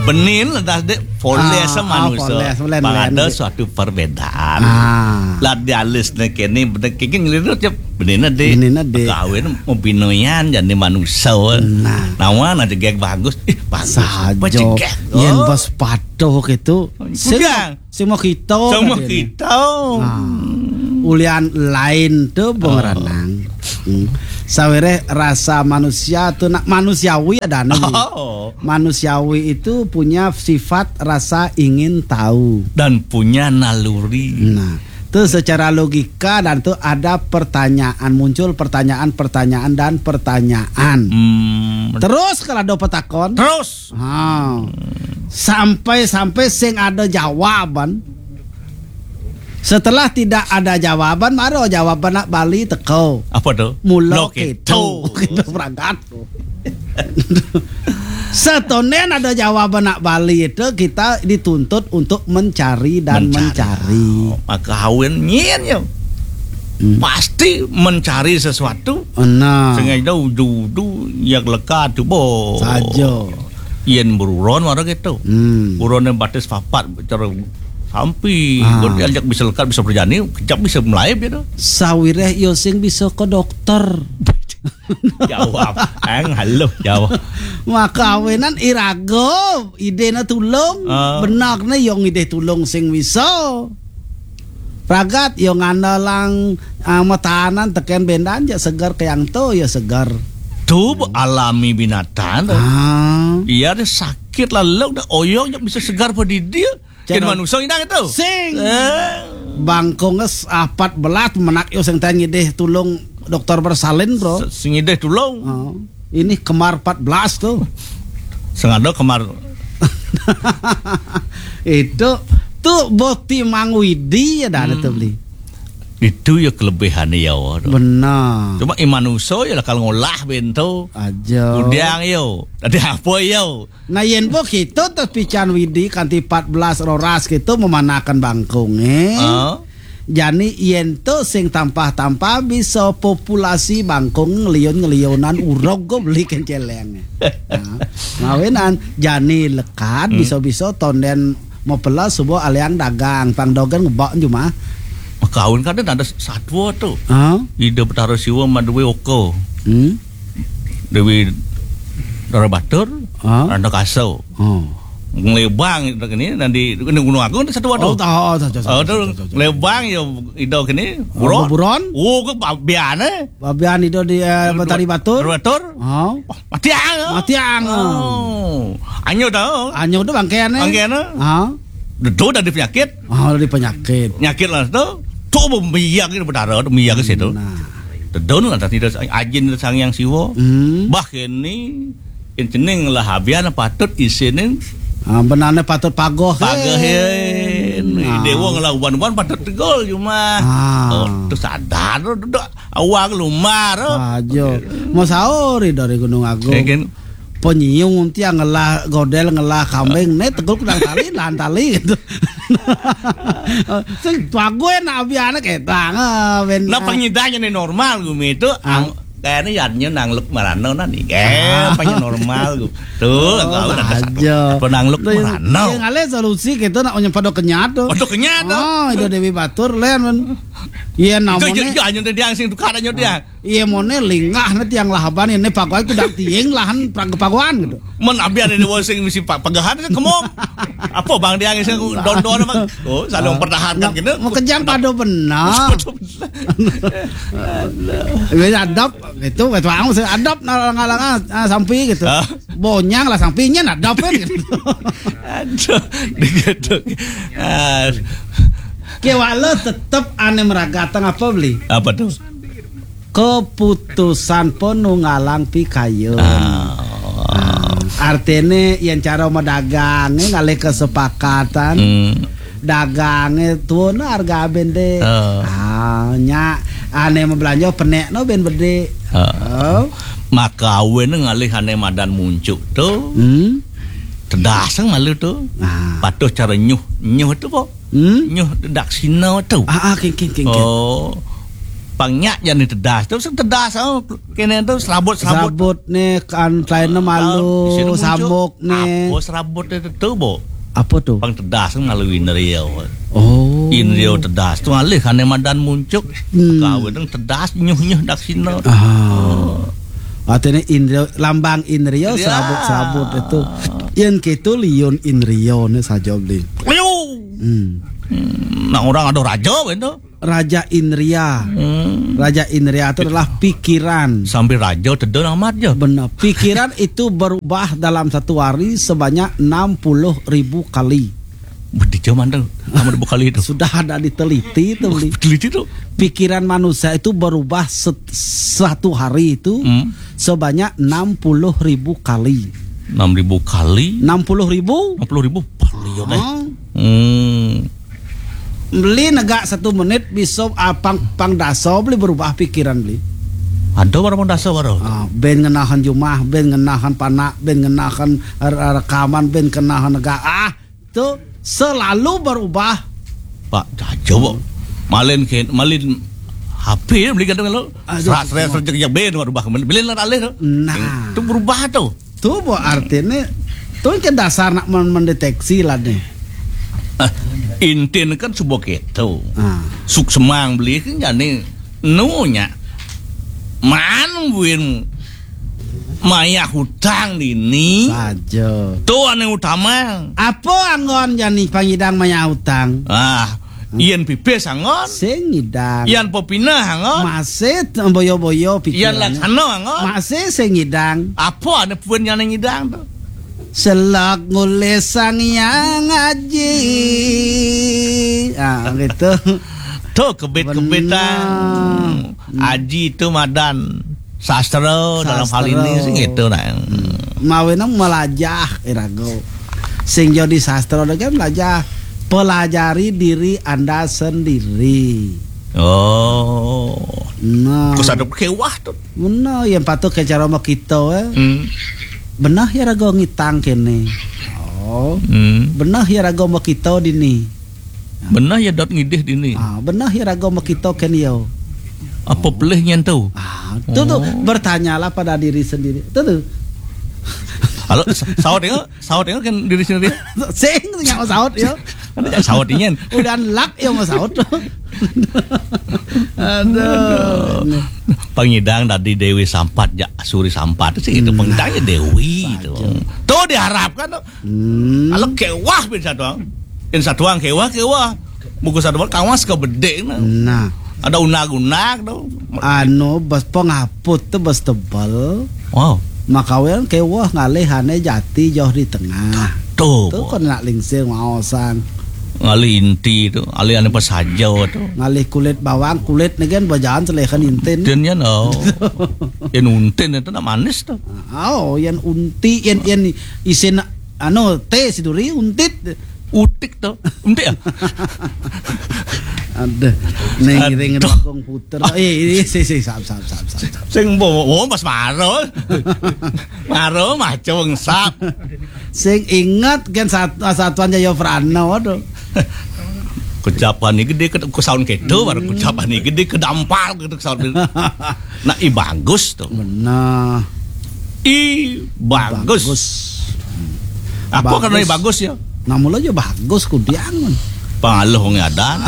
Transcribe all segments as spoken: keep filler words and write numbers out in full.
Benin lah dah dek poles Ah, sama ah, manusia. Poles, poles, Bang poles. Ada suatu perbedaan. Ah. Lah di alis ni kini bener kini ngeliru je benin dek. Benin dek. Kawin mau binoyan jadi manusia. Nah. Nawan aja gek bagus. Ih, bagus. Saja. Apa cegek? Yen Oh. Bos patuh gitu. Sing Bukan. Semua kita Semua tadi ni. Kita. Nah, ulian lain tu Bung Oh. Ranang. Hmm. Sawireh rasa manusia tu nak manusiawi ada nih. Oh. Manusiawi itu punya sifat rasa ingin tahu. Dan punya naluri. Nah, tu secara logika dan tu ada pertanyaan, muncul pertanyaan-pertanyaan dan pertanyaan. Hmm. Terus kalau ada petakon, Terus. Ha. Sampai-sampai sing ada jawaban. Setelah tidak ada jawaban, baru jawaban nak Bali teko. Apa tu? Mula Mula keto. Keto. Keto berangkat. Setonen ada jawaban nak Bali itu kita dituntut untuk mencari dan mencari. Mencari. Maka awin nyin ya. Hmm. Pasti mencari sesuatu. Nah. Sengaja udu-udu yang leka tu bo. Saja. Yen beruron mara gitu. Hmm. Buron yang batis papat cara sampi. Ah. Berarti ajak bisa lekat bisa berjani, kejap bisa melaib gitu. Sawireh yo sing bisa ke dokter. Jawab. Ang halo jawab. Maka awenan iraga idena tulung. Ah. Benar ne yo ngidih tulung sing bisa. Ragat yo ngandelang ah, matahanan teken bendan je segar ke yang tu yo segar. Tu alami binatang tu. Ah. Iya ada sakit lalu dah oyong je bisa segar pada dia. Ken manusia indah itu. Sing. Eh. Bangkong es apat belat menak yo sing tanya deh tulung dokter bersalin bro. Sing idih tulung. Oh. Ini kemar empat belas tu. Sing ada kemar. Itu tu boti Mang Widi ya dah hmm. Tu beli. Itu ya kelebihan ya. Benar. Cuma iman uso ya kalau ngolah bento. Aja. Udiang yo. Ada apa yo? Nah yen po kita terpican Widi kanti empat belas roras kita memanakan bangkung eh. Uh. Jani yen to sing tampah-tampah bisa populasi bangkung ngeliun-ngeliunan urog go beli kenceleng. Nah, ngawinan jani lekat hmm. Bisa-bisa tonden mau pelas subuh aliang dagang pang dogen ngebak jumah. Kawin kan ada satwa tu. Huh? Ida Betara Siwa madwe oko. Hmm? Dewi Dara Batur, huh? Randa Kaso. Oh. Ngelebang itu kini nanti ini Gunung Agung ada satu waduh. Oh, tahu, tahu, tahu, tahu, tahu, tahu, tahu. Ngelebang ya ido kini. Oh, buron. Buron? Oh, ke babian eh. Babian ido di eh, Betari Batur. Batur. Oh. Mati ang. Mati ang. Oh. Anyo tahu. Anyo tu bangkean eh. Bangkean eh. Ha. Dedo dari penyakit. Oh, dari penyakit. Penyakit lah tu. Tu biak itu berdarah tu biak ke situ. Nah. Tedun lah tadi ajin sang yang siwa. Hmm. Bah kini Incening lah habian patut isinin. Ah, benane patut pagoh. Pagoh eh. Nah. Dewa ngelah uban-uban patut tegol cuma. Ah. Oh, tu sadar tu duduk awak lumar. Aja. Mau sahur dari Gunung Agung. Ya, kan? Penyiung tiang ngelah godel ngelah kambing ne tegul kudang tali lahan tali gitu. Sing tuague nak abi anak etang ben. Nah pengidanya ni normal gumi itu ah. Ang Kayaknya yadnya nangluk marano nani. Eh, ah. Apa yang normal gitu. Tuh, oh, tahu ada aja. Apa nangluk marano. Yang ada solusi kita nak punya pada kenyat tuh. Pada kenyat tuh. Oh, itu Dewi Batur len men. Iya namanya. Itu hanya dia sing tukar aja dia. Iya mone lingah nanti yang lahaban ini pagoy itu dak tiing lahan pagoan gitu. Men abi ada di wong sing misi pagohan kemom. Apa bang dia sing don-don apa? Oh, saling mempertahankan gitu. Mau kejam pada benar. Wis adep gitu wis wau sing adep ngalang-ngalang ah, sampi gitu. Bonyang lah sampinya adep kan gitu. Aduh, gitu. Ah. Kewala tetep ane meragatang apa beli? Apa tuh? Keputusan penunggalang pikayun. Ah. Artine yen cara medagange ngalih kesepakatan. Hmm. Dagange tuun harga bende. Ah. Ah, nya ane mebelanja penekno ben bede. Ah. Maka awen ngalih ane madan muncuk tu. Hmm. Tedas malu tu. Ah. Patuh cara nyuh, nyuh tu po. Hmm? Nyuh dak sino tu. Ah, ah king king king. Oh. Pang nyak jani tedas. Terus tedas, oh, kene tu serabut-serabut. Serabut ni kan selain malu, samuk ni. Apa serabut itu tu, Bo? Apa tu? Pang tedas malu indrio. Oh. Indrio tedas tu alih kane madan muncuk. Hmm. Kawin tedas nyuh-nyuh dak sino. Ah. Artinya indrio, lambang indrio. Serabut-serabut itu. Yang ketu liun indrio ni saja beli. Ayo. Hmm. Hmm, nak orang ada raja kan tu. Raja Indria. Hmm. Raja Indria itu adalah pikiran. Sambil raja tedun amat je. Benar. Pikiran itu berubah dalam satu hari sebanyak enam puluh ribu kali. Bedi zaman tu. Enam puluh ribu kali tu. Sudah ada diteliti tu, Beli. Teliti tu. Pikiran manusia itu berubah set- satu hari itu. Hmm. Sebanyak enam puluh ribu kali. Enam ribu kali? Enam puluh ribu? Enam puluh ribu? Paling ya, deh. Hmm. Beli negak satu menit bisa, ah, pang, pang dasa beli berubah pikiran beli. Ada baru pang dasa baru. Ah, ben ngenahan jumah, ben ngenahan panak, ben ngenahan re- rekaman, ben ngenahan negak. Ah, tu selalu berubah. Pak, jajo, Bo. Malin ke, malin H P beli kadang lo. Aduh. Serat, serat, serat, jejak ben berubah. Beli lah alih tu. Nah. Tu berubah tu. Tu, Bo, artinya tu ke dasar nak men- mendeteksi lah ni. Ah, intin kan subo keto. Ah. Suk semang beli kan jani nunya. Man win mayah hutang dini. Saja. Tu ane utama. Apa anggon jani pangidang mayah hutang? Ah, yen pipis anggon. Sing ngidang. Yan pepinah anggon. Masih t- boyo-boyo pikiran. Yan laksana anggon. Masih sing ngidang. Apa ane pun yang ngidang tu? Selak ngulis sang yang ngaji. Ah, gitu. Tu kebit-kebitan. Benar. Hmm. Aji tu madan sastra dalam hal ini sih gitu nah. Hmm. Mawinang melajah irago. Sing jadi sastra kan melajah, pelajari diri anda sendiri. Oh. Nah. Ku sadap kewah tu. Benar, yang patut ke cara mau kita, eh. Hmm. Benar ya rago ngitang kene. Oh. Hmm. Benar ya rago mau kita dini. Benar ya dot ngidih dini. Ah, benar ya rago mau kita kene yo. Apa pelih nyen tu? Ah, tu tu. Oh. Bertanyalah pada diri sendiri. Tu tu. Halo, sa- saut ya, saut ya kan diri sendiri. Sing tu nyawa saut ya. Ada jak saut nyen. Udah lak ya mau saut. Aduh. Pangidang tadi Dewi Sampat, jak Suri Sampat sih itu. Nah. Pangidang ya Dewi itu. Saja. Tu diharapkan tu. Hmm. Kalau kewah bin satuang. Bin satuang kewah, kewah. Buku satuang kawas ke bedek nah. Nah. Ada unag-unag tu. Anu bas pengaput tu bas tebal. Wow. Makawen kewah ngalih ane jati jauh di tengah. Tu. Tu kon nak lingsir ngaosan. Ngalih inti tu, alih ane pasaja tu. Ngalih kulit bawang, kulit ni kan bajalan selehan intin. Intin ya no. Yang untin itu nak manis tu. Oh, yang unti, yang yang isin anu teh si duri untit. Utik tu. Untik ya? Aduh, neng ring dogong puter. Eh, ini si si sap sap sap sap. Sing bo, oh, mas maro. Maro macung sap. Sing ingat kan sat- satuan Jaya Prana tu. Kejapan ni gede ke, ke sound kedo baru kejapan ni gede ke dampar gitu sound. Nak i bagus tu. Benar. I bagus. Bagus. Apa karena i bagus ya? Namun aja bagus kudiangun. Pangaloh wong adan.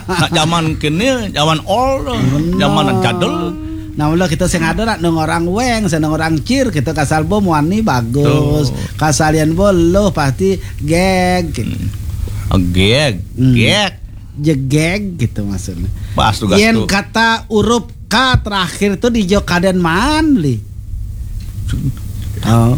Nak zaman kene, zaman old, zaman jadul. Nah, mula kita sing ada nak nang orang weng, sing nang orang cir, kita kasal bo muani bagus. Tuh. Kasalian bo lo pasti geg. Hmm. Geg, hmm, geg. Jegeg gitu maksudnya. Pas tugas. Yen tuh. Kata urup K terakhir tuh di Jokaden man li. Oh.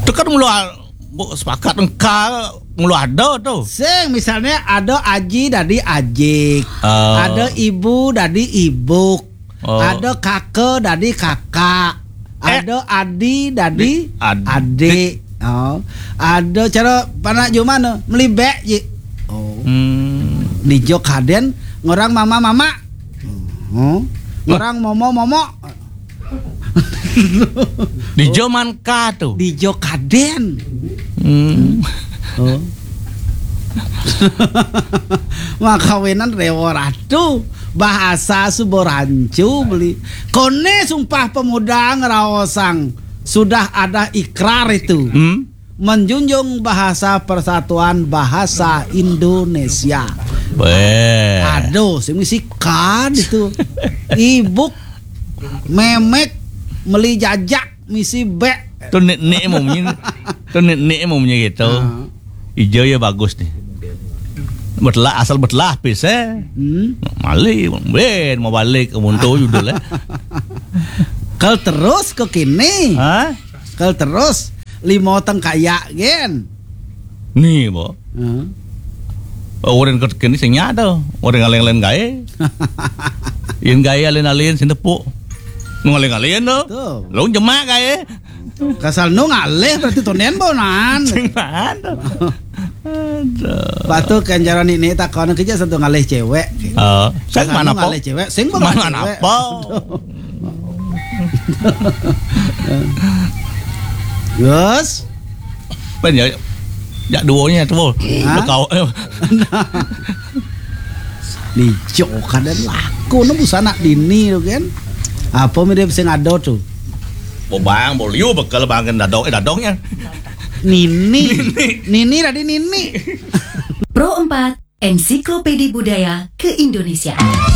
Itu kan mula bu- sepakat engka mula ada tuh. Sing misalnya ada aji dadi ajik. Oh. Ada ibu dadi ibuk. Oh. Ada kaka dadi kakak. Eh. Ada adi dadi di- adik. Adik. Oh. Ada cara panak jumano melibek je. Oh. Hmm. Di Jokaden ngorang mama-mama. Oh. Ngorang momo-momo. Di zaman ka tu. Di Jokaden. Hmm. Oh. Makawinan Rewo Ratu. Bahasa suba rancu beli. Kone Sumpah Pemuda ngeraosang sudah ada ikrar itu. Hmm? Menjunjung bahasa persatuan bahasa Indonesia. Beh. Aduh, sing misi kad itu. Ibuk, memek, meli jajak, misi bek. Tu nik-nik mumnya. Tu nik-nik mumnya gitu. Ah. Ijo ya bagus nih. Betelah, asal betelah pis eh. Hmm. Mali, ben mau balik ke Munto judul eh. Kal terus ke kini. Ha? Kal terus limo tengkaya gen. Ni bo. Hmm. Orang ke kini sing nyata. Orang alin-alin gae. Yen gae alin-alin sing tepuk. Nu alin-alin tu. Tuh. Lu jemak gae. Kasal nu ngalih berarti tonen bonan. Sing mana? Aduh. Patu kan cara nini takon kerja satu ngalih cewek. Oh, sing Kasal mana nu po? ngalih cewek, sing Mana bonan mana cewek. po? Gus. Pen ya, ya duonya tu. Hah? Kau eh, Ni jo kadang laku nu busana dini tu kan. Apa mirip sing ada tu? Bobang, boliu bekel bangin dadong eh dadongnya. Nini. Nini tadi nini. Pro empat, Ensiklopedi Budaya Keindonesiaan.